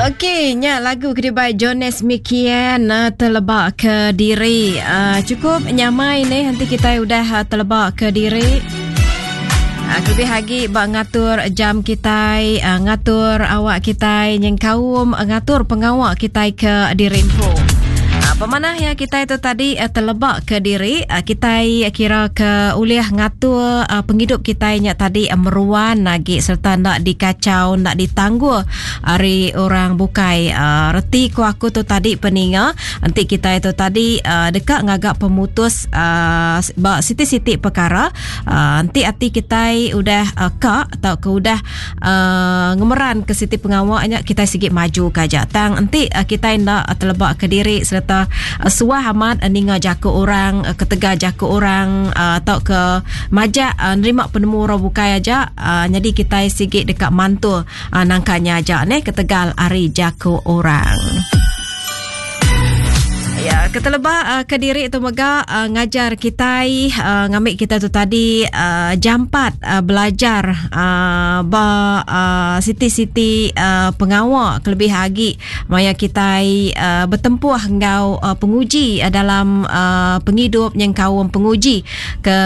Okey, nya lagu ke dibai Jonas Mikian uh, telebak ke diri. Uh, cukup nyamai ni nanti kita udah uh, telebak ke diri. Uh, lebih lagi bak ngatur jam kita, uh, ngatur awak kita, nyengkaum uh, ngatur pengawak kita ke diri empu. Uh, pemanah ya kita itu tadi uh, telebak ke diri, uh, kita kira ke ulih ngatur uh, penghidup kita nya tadi uh, meruan lagi serta ndak dikacau, ndak ditangguh ari orang bukai. Uh, reti ku aku tu tadi peninga, enti kita itu tadi uh, deka ngaga pemutus uh, ba siti-siti perkara, uh, enti ati kita udah uh, ka atau ke udah uh, ngemeran ke siti pengawa nya kita sigi maju ke aja. Tang enti uh, kita nda telebak ke diri serta uh, suah amat uh, ninga jaku orang uh, ketegal jaku orang uh, atau ke majak uh, nerima penemu orang bukai aja uh, jadi kita sigi deka mantul uh, nangka nya aja neh ketegal ari jaku orang. Ya, keteleba uh, ke diri tu mega uh, ngajar kitai uh, ngambil kita tu tadi uh, jampat uh, belajar uh, ba uh, siti-siti uh, pengawa kelebih agi maya kitai uh, bertempuh enggau uh, penguji uh, dalam uh, pengidup nyengkaum penguji ke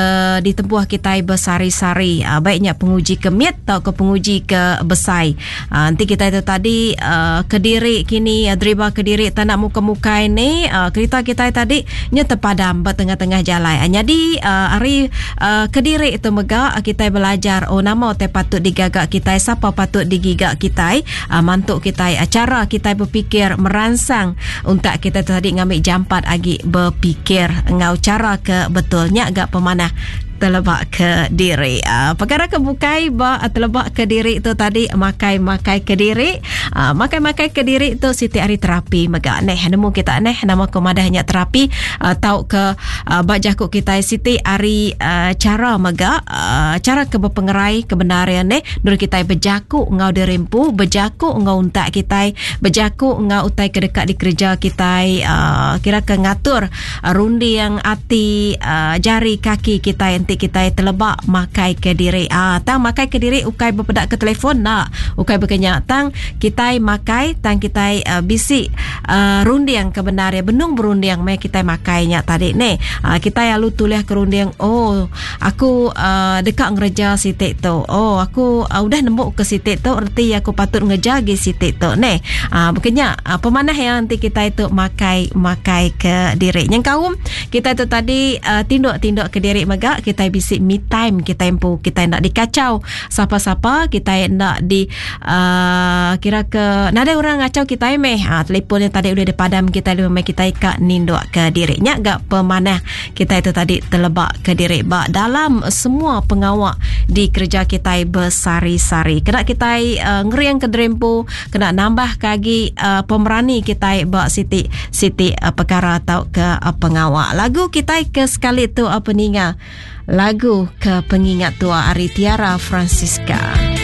ditempuh kitai besari-sari uh, baiknya penguji ke mit tau ke penguji ke besai. Uh, nanti kita itu tadi uh, kediri kini uh, driba kediri tak nak muka-mukai ni uh, kereta kita tadi nya terpadam ba tengah-tengah jalan. Uh, jadi uh, hari uh, kediri itu mega uh, kita belajar oh nama te patut digaga kita siapa patut digiga kita uh, mantuk kita uh, cara kita berfikir merangsang untuk kita tadi ngambil jampat agi berfikir ngau cara ke betulnya agak pemanah telebak ke diri. Uh, perkara ke bukai ba uh, telebak ke diri tu tadi makai-makai ke diri. Uh, makai-makai ke diri tu siti hari terapi mega neh nemu kita neh nama ko madahnya terapi uh, tau ke uh, ba jaku kita siti hari uh, cara mega uh, cara ke berpengerai kebenaran neh dur kita bejaku ngau dirempu bejaku ngau untak kita bejaku ngau utai ke dekat dikerja kita uh, kira ke ngatur runding ati uh, jari kaki kita enti kita telebak makai ke diri. Ah tang makai ke diri ukai berpedak ke telefon nak ukai berkenya tang kita makai tang kita uh, bisi uh, runding ke benar ya benung berunding mai kita makainya tadi ni. Uh, kita lalu tulis ke runding oh aku uh, dekat ngereja sitik tu. Oh aku uh, udah nemu ke sitik tu erti aku patut ngeja gi sitik tu ni. Uh, berkenya uh, pemanah yang nanti kita itu makai makai ke diri. Yang kaum kita itu tadi uh, tinduk-tinduk ke diri mega kita bisi me time kita empu kita nak dikacau siapa-siapa kita nak di uh, kira ke nada orang ngacau kita meh ha, telefon yang tadi udah dipadam kita lebih mai kita ka ninduk ke diri nya gak pemanah kita itu tadi telebak ke diri ba dalam semua pengawak di kerja kita bersari-sari kena kita uh, ngeriang ke derempu kena nambah kagi uh, pemerani kita ba siti siti uh, perkara atau ke uh, pengawak lagu kita ke sekali tu apa ninga lagu ke pengingat tua Ari Tiara Francisca.